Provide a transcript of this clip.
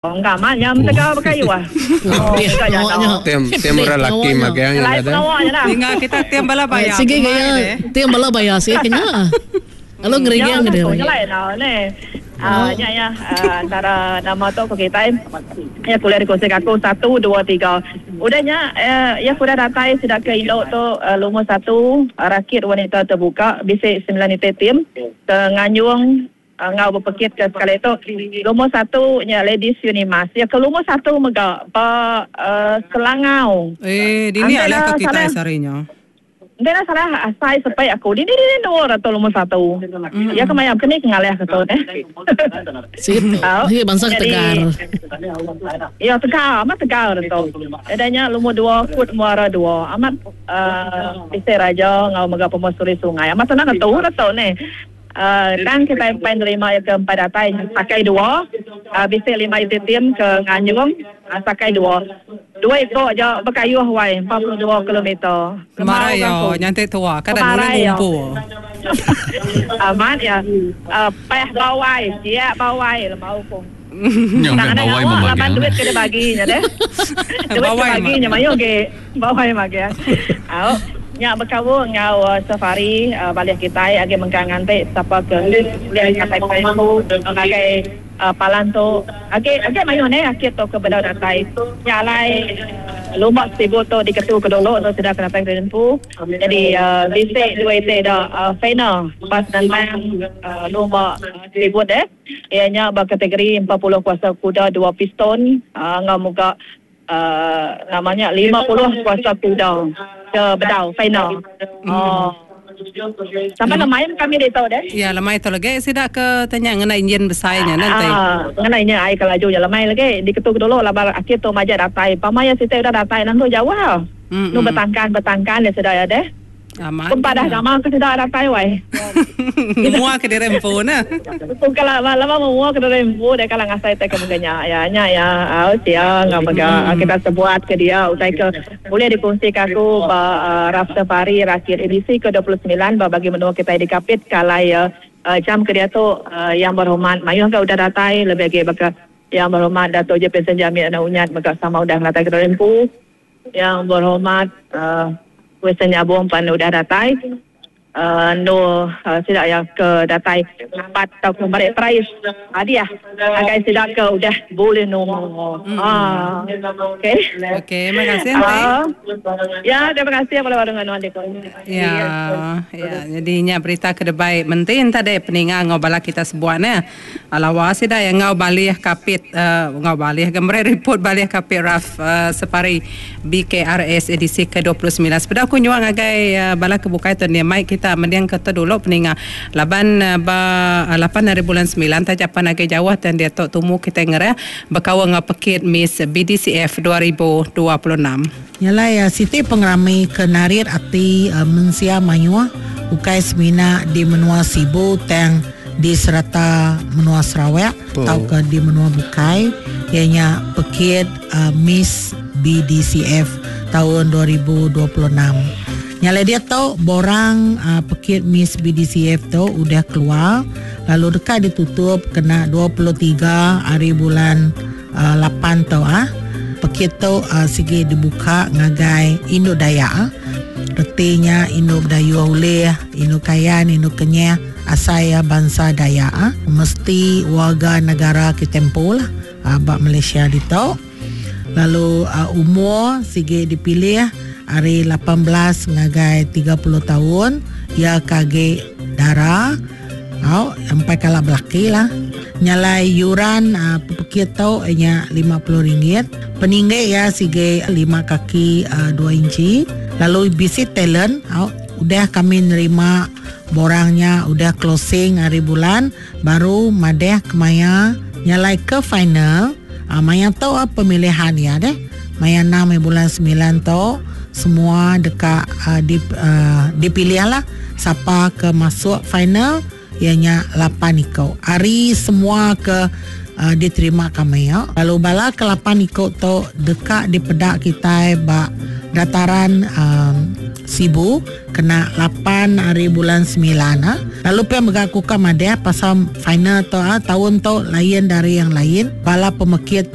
Engka amat nya metegal bekayu ah. Oh, Pedih mega pengawa jana. nya. Tem tem Pedih orang pengawa laki nya. magang nya Nyelai dah. pengawa nya dah. Ninga kita tim bala Eh, baya sigi kemai gaya deh. tim bala baya sigi ke nya. Lalu Nya ngeriging udah tu kediri. nyelai enda neh. Ah Oh. nya iya ah, antara nama tu ku kitai. Iya kuliah dikongsi ke aku satu dua tiga. Udah nya eh, iya ke udah datai sida ke indu tu eh, lumur satu rakit wanita terbuka bisi semilan iti tim ke nganjung Enggau bepekit ke sekali tu, lumur satu nya Ladies Unimas. Iya ke lumur satu mega ba Selangau. Eh, dini Enti alih ne ke kitai salah sehari nya. Enti ne salah asai sepik aku, dini dini endur tu lumur satu. Iya ke maya keni ke ngalih ke tu neh. Sigi Au. sigi bansa ke Nyadi tegar. iya tegar, amat tegar tu. Udah nya lumur dua Kut Muara Dua. Amat uhh bisi raja enggau mega pemusuri sungai. Amat senang ngetu tu neh. Tang kitai empai nerima iya ke empai datai sakai dua bisi lima iti tim ke nganjung sakai dua. Dua iko aja bekayuh wai 42 kilometer. Kemarai Lemau iya aku. nyanti tua kada nulih Kemarai iya. ngumpul. Amat iya peh bawai siak bawai lemau ku. Nya Tang meh anang bawai ngawa laban memagang. duit ke dibagi nya deh. Duit ke Bawai bagi nya magang. mayuh agi. Bawai magang. Au. Nya bekaul enggau safari balih kitai agi mengkang nganti sapa ke ulih ngatai ngagai palan tu. Agi agi mayuh neh akit tu ke bedau datai. Nya alai lumba sibu tu diketu ke dulu tu sida ke datai ke empu. Nyadi bisi dua iti da final ba senentang lumba sibut deh. Iya nya ba kategori 40 kuasa kuda dua piston enggau mega nama nya 50 kuasa kuda ke bedau final. Oh. Sampai lemai kami ditu deh. Ya lemai tu lagi sida ke tanya ngena enjin besai nya nanti. Ah, ngena enjin ai ke laju nya lemai lagi diketu ke dulu laban aki tu majak datai. Pama iya siti udah datai lalu jauh. Nu betangkan betangkan dia sida iya deh. Amat. Pempadah nama ke sida datai wai. Ngemua ke diri empu ne. Bukan lama lama memua ke diri empu deh kala ngasai tai ke mega nya. Ya nya ya au sia enggau mega kita sebuat ke dia utai ke ulih dikongsi ke aku ba Raf Safari Rakit edisi ke 29 ba bagi menua kitai di Kapit ke alai jam ke diatu Yang Berhormat mayuh ga udah datai lebih agi baka Yang Berhormat Dato Jepinson Jamit Anak Unyat mega sama udah ngenatai ke diri empu. Yang Berhormat Wilson Nyabong pan udah datai endur sida iya ke datai ngambat tauka meri perais hadiah ngagai sida ke udah bulih numur. Haa. Okey. Okey, terima kasih Enti. Ya, terima kasih bala baru enggau nuan ditu. Ya, ya. Jadi nya berita ke debai menti enta deh peninga enggau bala kita sebuat neh. Lawa sida iya enggau balih kapit enggau balih ga meri riput balih kapit raf separi BKRS edisi ke 29. Sepeda aku nyuak ngagai bala ke bukai tu nia mai kita mending ke tu dulu peninga laban ba lapan hari bulan semilan taja pan agi jauh tang diatu tumu kitai ngerah bekaul enggau pekit Miss BDCF 2026. Nya alai siti pengerami ke narit ati mensia mayuh ukai semina di menua Sibu tang di serata menua Sarawak tauka di menua bukai iya nya pekit Miss BDCF taun 2026. Nya alai diatu borang pekit Miss BDCF tu udah keluar lalu deka ditutup kena 23 hari bulan lapan tu. Pekit tu sigi dibuka ngagai indu Dayak. Reti nya indu Bidayuh ulih, indu Kayan, indu Kenyah. Asai iya bansa Dayak mesti warga negara kitai empu lah ba Malaysia ditu. Lalu umur sigi dipilih ari 18 ngagai 30 taun iya ke agi dara au empai kala belaki lah. Nya alai yuran pekit tu iya nya 50 ringgit. Peninggi iya sigi lima kaki dua inci lalu bisi talent au udah kami nerima Borang nya udah closing hari bulan baru madah kemaya nyalai ke final maya tu pemilihan iya deh maya enam hari bulan semilan tu semua deka dipilih lah sapa ke masuk final iya nya lapan iko ari semua ke diterima kami lalu bala ke lapan iko tu deka dipeda kitai ba dataran. Sibu kena 8 hari bulan 9. Ha. Lalu pia mega aku ka madah pasal final tu ha, tahun tu lain dari yang lain. Bala pemekit tu